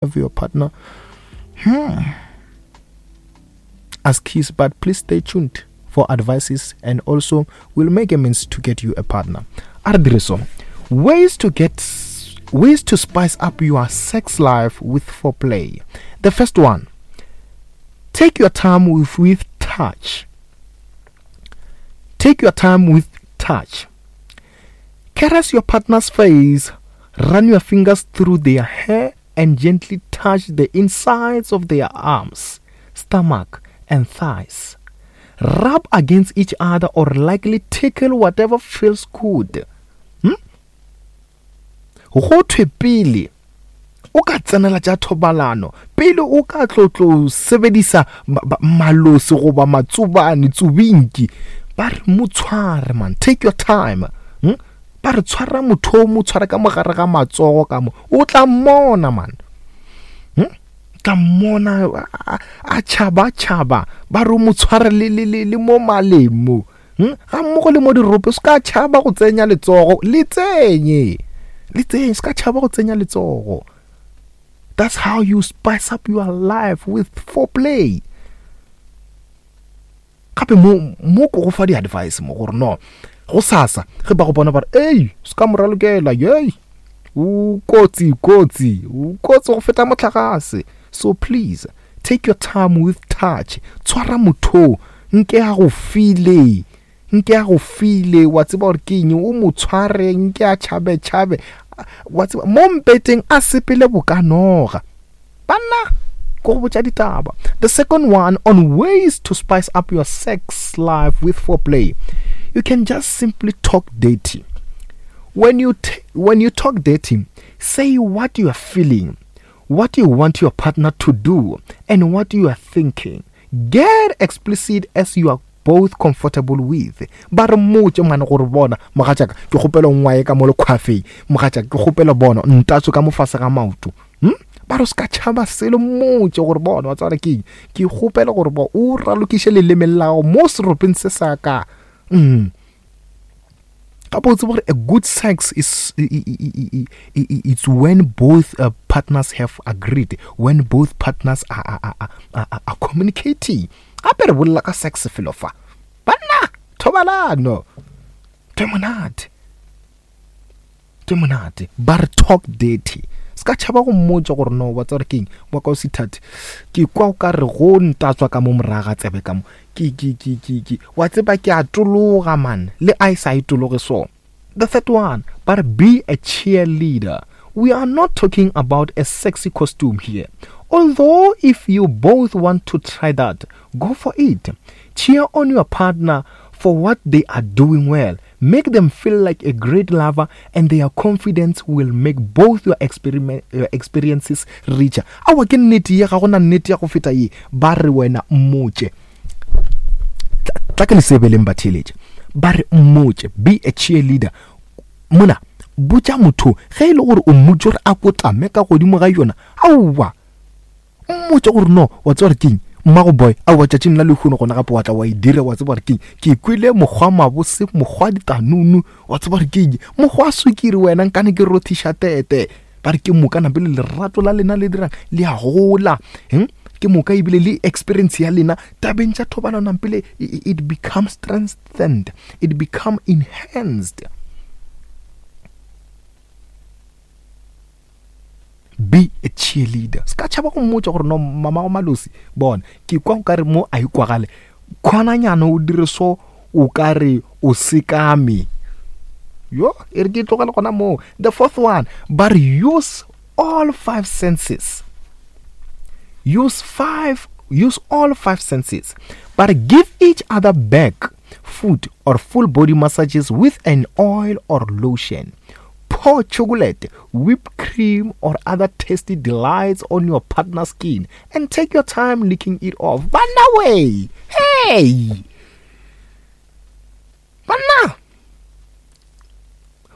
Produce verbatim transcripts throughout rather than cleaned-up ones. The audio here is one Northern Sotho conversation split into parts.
Have your partner hmm as keys, but please stay tuned for advices, and also we'll make a means to get you a partner. A re dire so. Ways to get ways to spice up your sex life with foreplay. The first one, take your time with, with touch. Take your time with touch. Caress your partner's face, run your fingers through their hair, and gently touch the insides of their arms, stomach, and thighs. Rub against each other or lightly tickle whatever feels good. Hmm? Go thwe pele o ka tsenela tša thobalano, pele o ka tlo tlo sebedisa malose goba matsobane tsubinki, ba re mo tshware man, take your time. Hmm? Ba re tshwara motho o mo tshwara ka mogare ga matsogo ka mo, o tla mmona man. Hmm? Tla mmona a tšhaba tšhaba, ba re o mo tshware le, le, le, le mo maleng mo. Hmm? Ga mmogo le mo dirope, se ka tšhaba go tsenya letsogo, le tsenye. Le tsenye, se ka tšhaba go tsenya letsogo. That's how you spice up your life with foreplay. Gape mo, mo ko go fa di-advice mo gore no, go sasa ge ba go bona ba re, ei, se ka mo ralokela, yei, o kotsi, kotsi, o kotsi go feta motlakase. So please, take your time with touch. Tshwara motho, nke a go file, nke a go file, wa tseba gore ke eng, o mo tshware, nke a tšhabe tšhabe, wa tseba, mo mpeteng a sepele bokanoga. Banna, ko go botša ditaba. The second one, on ways to spice up your sex life with foreplay, you can just simply talk dirty. When you t- when you talk dirty, say what you are feeling, what you want your partner to do, and what you are thinking. Get explicit as you are both comfortable with. Ba re mmotše ngwana gore bona mogatšaka ke kgopela ngwae ka mo lekgwafeng, mogatšaka ke kgopela bona ntatso ka mo fase ga maoto. Hmm? Ba re se ka tšhaba selo, mmotše gore bona wa tseba ke eng, ke kgopela gore bo o ralokiše leleme la gago mo seropeng se sa ka. Mm. Gape o tsebe gore a good sex is, it's when both uh, partners have agreed, when both partners are, are, are, are, are communicating. Gape re bolela ka sex felo fa. Banna, thobalano. Ke monate. Ke monate. Ba re talk dirty. Se ka tšhaba go mmotša gore no, wa tseba gore ke eng, wa ka o sithathe. Ke kwa o ka re go ntatswa ka mo morago ga tsebe ka mo. Ke, ke, ke, ke, ke. Wa tseba ke a tologa man, le a e sa e tologe so. The third one, ba re be a cheerleader. We are not talking about a sexy costume here. Although if you both want to try that, go for it. Cheer on your partner for what they are doing well. Make them feel like a great lover, and their confidence will make both your, experiment, your experiences richer. Awa ke nnete ye, ga gona nnete ya go feta ye. Ba re wena mmotše. Tla ke le sebeleng ba theeletše. Ba re mmotše, be a cheerleader. Mona, botša motho ge e le gore o mmotše gore a kotame ka godimo ga yona. Aowa, mmotše gore no, wa tseba gore ke eng, mmago boy, aowa tšatšing la lehono gona gape wa tla wa e dira, wa tseba gore ke eng, ke kwele mokgwa mabose, mokgwa ditanunu, wa tseba gore ke eng, mokgwa sukiri wena nkane ke rothiša tete. Ba re ke moka napele lerato la lena le dirang le a gola. Hm? Ke moka ebile le experience ya lena tabeng tša thobalano nampele it becomes strengthened, it become enhanced. Be a cheerleader. Se ka tšhaba go mmotša gore no mama go malosi, bona ke kwa o ka re mo a ikwagale, khwananyana o dire so o ka re o sekame. Yo, e re ke tlogele gona moo. The fourth one, ba re use all five senses. Use five, use all five senses. Ba re give each other back, foot or full body massages with an oil or lotion. Pour chocolate, whipped cream, or other tasty delights on your partner's skin and take your time licking it off. Banna way! Hey! Banna!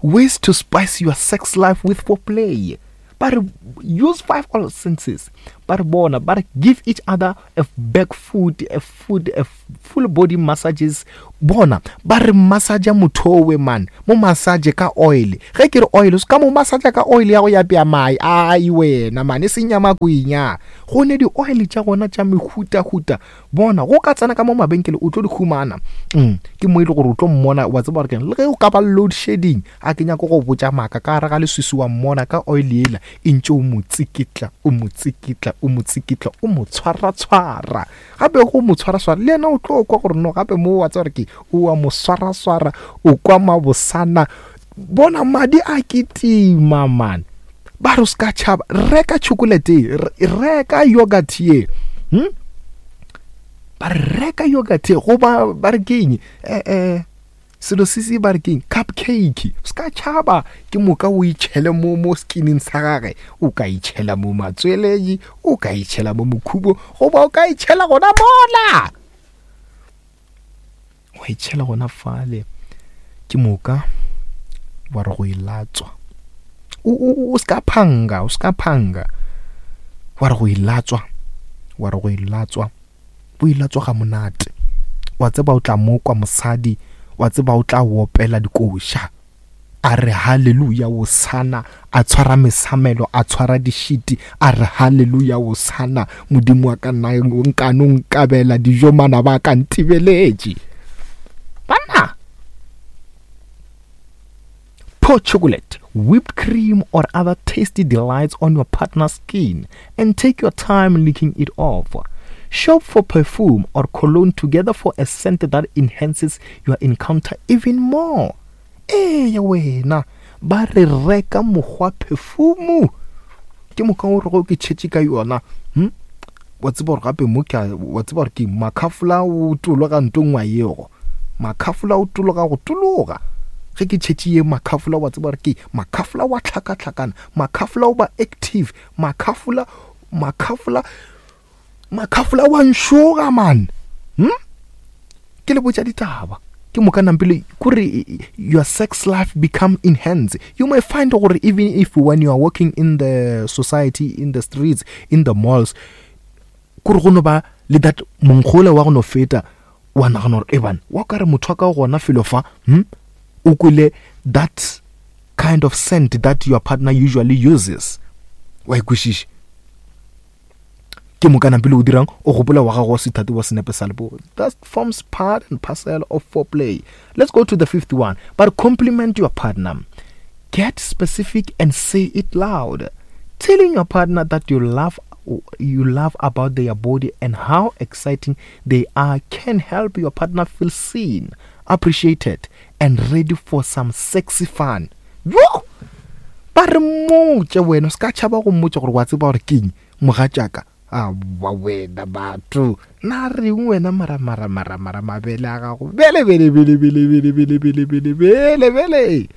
Ways to spice your sex life with foreplay. But use five all senses. Ba re bona, ba re give each other a back foot, a foot, a full body massages. Bona, ba re massage motho owe man, mo massage ka oil. Ge ke re oil, se ka mo massage ka oil ya go ya pea mai. Ai wena man, e seng ya makwenya. Go ne di oil tša gona tša mehutahuta. Bona, go ka tsena ka mo mabenkele o tlo di humana. Mm, ke mo e le gore o tlo mmona, wa tseba gore keng. Le ge o ka ba load shedding, a ke nyako go botša maaka, ka gare ga leswiswi wa mmona ka oil ela e ntše o mo tsikitla, o mo tsikitla, o mo tsikitla, o mo tshwaratshwara. Gape go mo tshwaraswara, le yena o tlo kwa gore no, gape mo wa tseba gore ke o a mo swaraswara, o kwa mabosana. Bona madi a kitima man. Ba re o ska tšhaba, reka chocolate, reka yogurt ye. Hmm? Ba re reka yogurt ye, goba ba re keng? Eh, eh, selo se se ba re keng? Cupcake. O ska tšhaba, ke moka o itšhele mo, mo skinning sa gage. O ka itšhela mo matsweleng, o ka itšhela mo mokhubo, goba o ka itšhela gona mola. Wa itšhela gona fale. Ke moka wa re go e latswa. O, o, o ska phanga, o ska phanga. Wa re go e latswa, wa re go e latswa. O e latswa ga monate. Wa tseba o tla mo kwa mosadi, wa tseba o tla opela dikoša. A re haleluya osana, a tshwara mesamelo, a tshwara dišiti, a re haleluya osana, Modimo wa ka nna nkano nkabela dijo mana ba ka ntibeletše. Banna! Pour chocolate, whipped cream or other tasty delights on your partner's skin and take your time licking it off. Shop for perfume or cologne together for a scent that enhances your encounter even more. Eya wena, ba re reka mokgwa perfume. Ke moka o re go ke tšhetše ka yona. Hm? Wa tseba gore gape mo ke a, wa tseba gore ke makhafola o tologa ntong wa yego. Makhafola o tologa go tologa. Ge ke tšhetše ye makhafola, wa tseba gore ke makhafola wa tlhakatlhakana, makhafola o ba active, makhafola, makhafola, makhafola wa nšoga man. Hm? Ke le botša ditaba. Ke moka nampile kore your sex life become enhanced. You may find gore even if when you are walking in the society, in the streets, in the malls, kore go no ba le that monkgola wa go no feta, wa nagana gore, e bana, wa ka re motho wa ka gona felo fa, hm? O kwele that kind of scent that your partner usually uses. Wa e kwešiša? Ke moka nampile o dirang, o gopola wa gago wa sethate wa senepe sa leboa. That forms part and parcel of foreplay. Let's go to the fifth one. But compliment your partner. Get specific and say it loud. Telling your partner that you love, you love about their body and how exciting they are can help your partner feel seen, appreciated, and ready for some sexy fun. Yo! Ba re mmotše wena, o ska tšhaba go mmotša gore wa tseba gore keng, mogatšaka. A ba wena batho, na reng wena mara, mara, mara, mara mabele a gago. Bele, bele, bele, bele, bele, bele, bele, bele, bele, bele.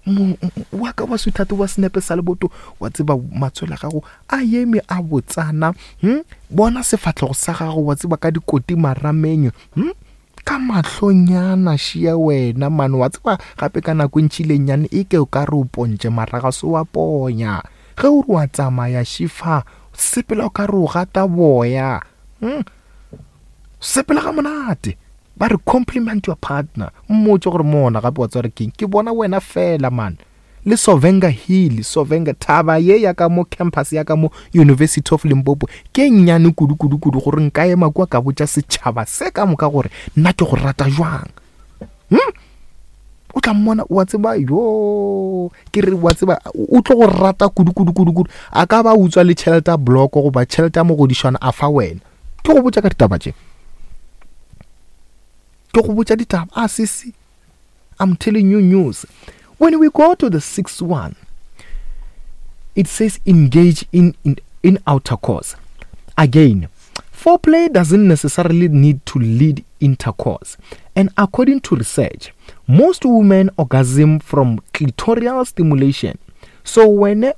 Mo, wa ka wa sweetheart wa senepe sa leboto, wa tseba matswele a gago a eme a botsana. Hm? Bona sefahlego sa gago, wa tseba ka dikoti marameng. Hm? Ka mahlonyana šia wena man, wa tseba gape ka nako e ntši le nnyane e ke o ka re o pontše mara ga se wa ponya. Ge o re wa tsamaya šifa, sepela o ka re o gata boya. Hm? Sepela ga monate. Ba re compliment your partner. Mmotše gore mona gape wa tseba gore keng, ke bona wena fela man. Le Sovenga Hill, Sovenga thaba ye ya ka mo campus ya ka mo University of Limpopo ke nnyane kudu kudu kudu gore nka ema kwa ka botša setšhaba se ka moka gore nna ke go rata jwang. Hm? O tla mmona, wa tseba, yo, ke re wa tseba, o tlo go rata kudu kudu kudu kudu. A ka ba utswa le tšhelete ya bloko goba tšhelete ya mogodišwana a fa wena. Ke go botša ka ditaba tše. Ke go botša ditaba. Ah, sisi, I'm telling you news. When we go to the sixth one, it says engage in, in, in outer course. Again, foreplay doesn't necessarily need to lead intercourse. And according to research, most women orgasm from clitoral stimulation. So when,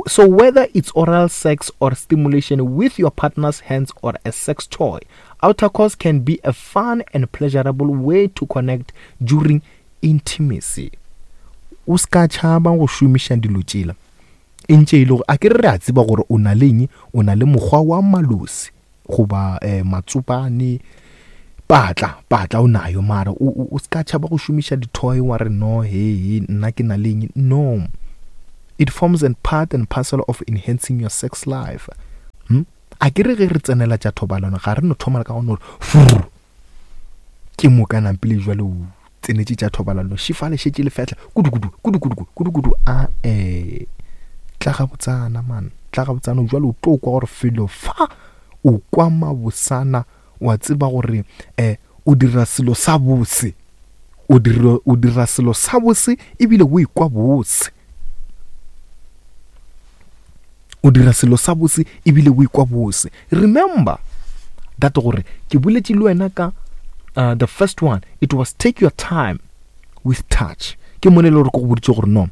so whether it's oral sex or stimulation with your partner's hands or a sex toy, outer course can be a fun and pleasurable way to connect during intimacy. O ska tšhaba go šomiša dilo tšela. E ntše e le gore a ke re re a tseba gore o na le eng, o na le mokgwa wa malosi goba um matsopane, patla patla o nayo, mara o o ska tšhaba go šomiša di-toy wa re no he he nna ke na le eng. No, it forms and part and parcel of enhancing your sex life. Hmm? A ke re ge re tsenela tša thobalano ga re no thoma ka go no re ke moka nampile jwale o tsenetše tša thobalano šifale šetše le fehla kudu kudu kudu kudu kudu kudu a eh tla ga botsana man, tla ga botsana jwale o tlo kwa gore felo fa o kwa mabosana, wa tseba gore eh o dira selo sa bose, o dira o dira selo sa bose ebile o ikwa bose, o dira selo sa bose ebile o ikwa bose. Remember that gore ke boletše le wena ka uh, the first one, it was take your time with touch. Ke mo le gore ke go boditše gore no,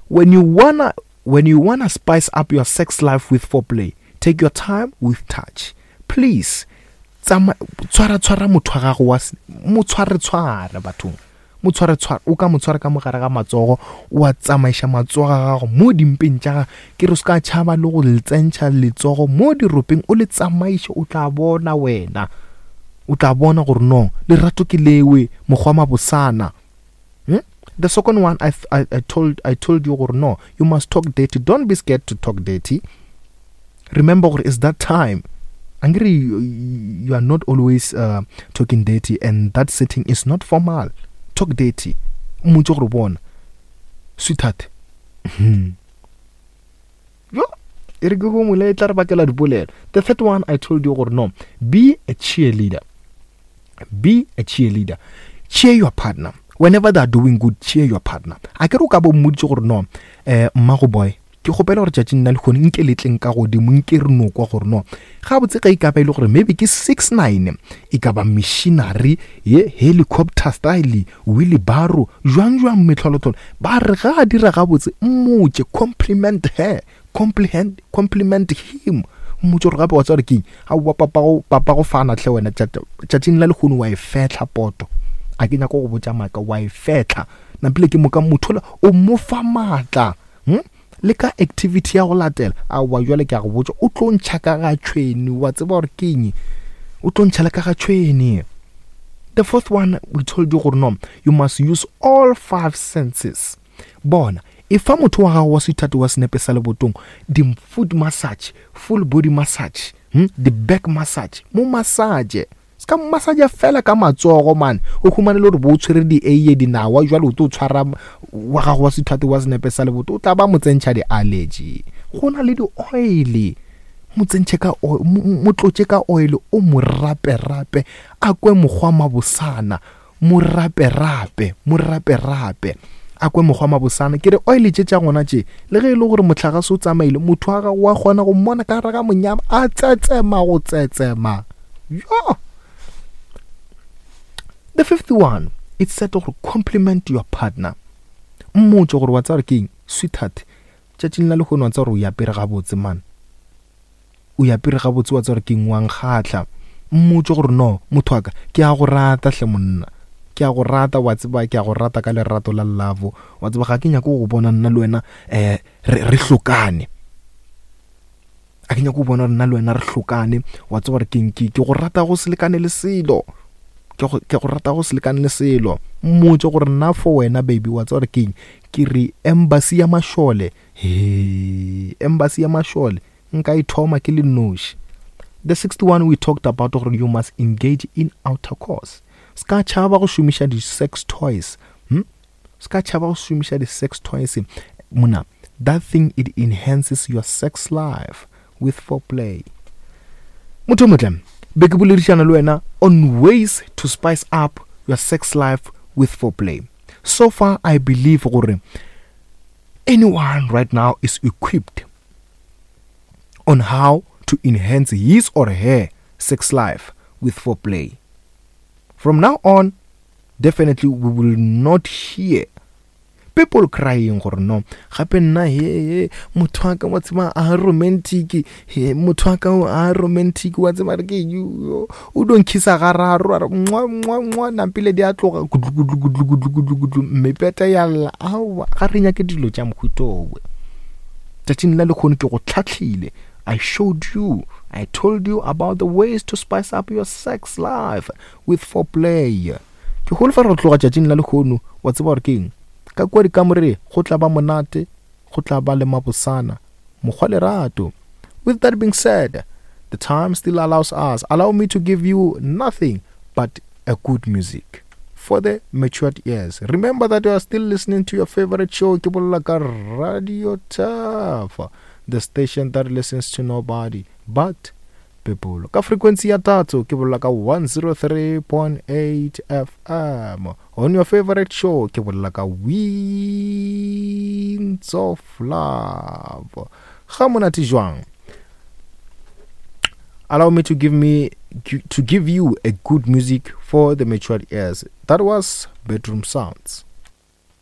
when you wanna when you wanna spice up your sex life with foreplay, take your time with touch. Please tsama tshwara tshwara motho wa gago wa mo tshware tshware bathong, mo tshware tshware, o ka mo tshwara ka mogare ga matsogo, wa tsamaiša matsogo a gago mo dimpeng tša gagwe, ke re o ska tšhaba le go le tsentšha letsogo mo diropeng, o le tsamaiše, o tla bona wena, o tla bona gore no lerato ke lewe mokgwa mabosana. Hmm? The second one, I, I, I told I told you gore no, you must talk dirty. Don't be scared to talk dirty. Remember gore it's that time. Angry, you, you are not always uh, talking dirty, and that setting is not formal. Talk dirty. Mmotse gore bona, sweetheart. Hmm. Yo, e re ke go mole tla re bakela dipolelo. The third one, I told you gore no, be a cheerleader. Be a cheerleader. Cheer your partner. Whenever they are doing good, cheer your partner. A ke re o ka bo mmoditse gore no, eh mmago boy, ke kgopela gore tšatšing la lehono nke le tleng ka godimo, nke re no kwa gore no gabotse ge e ka ba e le gore maybe ke six nine, e ka ba machinery ye helicopter style, wheelbarrow, jwang jwang metlholotlholo, ba re ga a dira gabotse mmotse, compliment her, compliment, compliment him, mmotse gore gape wa tseba gore keng, aowa papago, papago fana hle wena tšatšing la lehono wa e fehla poto, a ke nyaka go botša maaka, wa e fehla nampile ke moka motho o mo fa maatla. Hmm? Le ka activity ya go latela, aowa jwale ke a go botša, o tlo ntšha ka ga tšhwene, wa tseba gore ke eng, o tlo ntšha le ka ga tšhwene. The fourth one, we told you gore no, you must use all five senses. Bona, e fa motho wa gago wa sweetheart wa senepe sa lebotong di foot massage, full body massage, hmm? the back massage, mo massage. Se ka massage fela ka matsogo man, o humane le gore bo o tshwere di eiye dinawa jwale o tlo tshwara wa gago wa sweetheart wa senepe sa leboto, o tla ba mo tsentšha di-allergy. Go na le di-oil, mo tsentšhe ka oil, mo tlotše ka oil, o mo rape-rape, a kwe mokgwa mabosana, mo rape-rape, mo rape-rape, a kwe mokgwa mabosana. Ke re oil tše tša gona tše, le ge e le gore mohlagase o tsamaile, motho wa gago wa kgona go mmona ka gare ga monyama a tsetsema go tsetsema. Yo! The fifth one, it's said to compliment your partner. Mmotse gore wa tseba gore ke eng, sweetheart, tšatšing la lehono wa tseba gore o apere gabotse man, o apere gabotse, wa tseba gore ke eng, wa nkgahla. Mmotse gore no motho wa ka, ke a go rata hle monna, ke a go rata, wa tseba ke a go rata ka lerato la love, wa tseba ga ke nyake go bona nna le wena eh re re hlokane, a ke nyake go bona nna le wena re hlokane, wa tseba gore ke eng, ke go rata go se lekane le selo, ke go ke go rata go se lekane le selo. Mmotse gore nna for wena baby, wa tseba gore ke eng, ke re embassy ya mašole, he embassy ya mašole nka e thoma ke le noši. The sixth one, we talked about gore you must engage in outer course. Ska tšhaba go šomiša di-sex toys, hm? Ska tšhaba go šomiša di-sex toys mona, that thing, it enhances your sex life with foreplay. Motho motle, be ke boledišana le wena on ways to spice up your sex life with foreplay. So far I believe gore anyone right now is equipped on how to enhance his or her sex life with foreplay. From now on, definitely we will not hear people crying gore no gape nna he he motho wa ka wa tseba a romantic, he motho wa ka a romantic, wa tseba re ke o don kissa gararo, a re mwa mwa mwa nampile di a tloga gudlu gudlu gudlu gudlu gudlu gudlu mepeta ya lla. Aowa, ga re nyake dilo tša mohutowe. Tšatšing la lekgono ke go tlhatlhile. I showed you, I told you about the ways to spice up your sex life with foreplay. Ke holofela go tloga tšatšing la lekgono wa tseba gore ke eng ka kua dikamore go tla ba monate go tla ba le mabosana mokgwa lerato. With that being said, the time still allows us. Allow me to give you nothing but a good music for the matured ears. Remember that you are still listening to your favorite show, ke bolela ka Radio Turf, the station that listens to nobody but people. Ka frequency ya tatso ke bolela ka one oh three point eight F M. On your favorite show, ke bolela ka Winds of Love. Ga monate jwang? Allow me to give me to give you a good music for the matured ears. That was Bedroom Sounds.